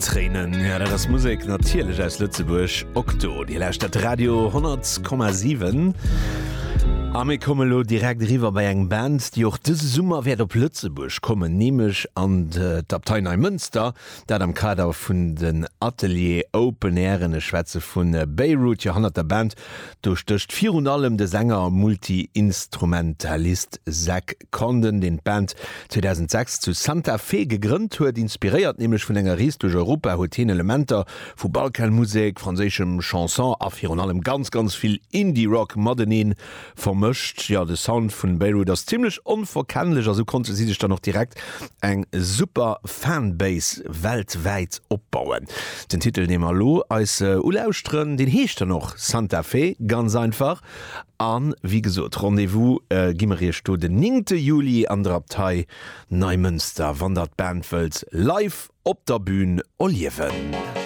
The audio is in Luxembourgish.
Tréinen, jo dat ass Musek natierlech aus Lëtzebuerg, Octo. Dir lauschtert Radio 100,7 a mir komme lo direkt eriwwer bei eng Band, déi och dëse Summer wäert op Lëtzebuerg kommen, nämlech an d'Abtei Neimënster, dat am Kader vun den Atelier Open Airen. Ech schwätze vu Beirut. Jo, hannert der Band do stécht virun allem de Sänger a Multi-Instrumentalist Zach Condon, deen d'Band 2006 zu Santa Fe gegrënnt huet. Inspiréiert nämlech vun enger Rees duerch Europa huet hien Elementer vu Balkanmusek, franséischem Chanson a virun allem ganz, ganz vill Indie-Rock matenee vermëscht. Jo, de Sound vun Beirut ass zimmlech onverkennlech a sou konnte si sech dann och direkt eng super Fanbase weltwäit opbauen. Den Titel, dee mer elo eis ulauschteren, deen heescht dann och Santa Fe, ganz einfach. A wéi gesot, Rendez-vous gi mer iech do den 9 Juli an der Abtei Neimënster, wann der d'Band wëllt live op der Bühn erliewen.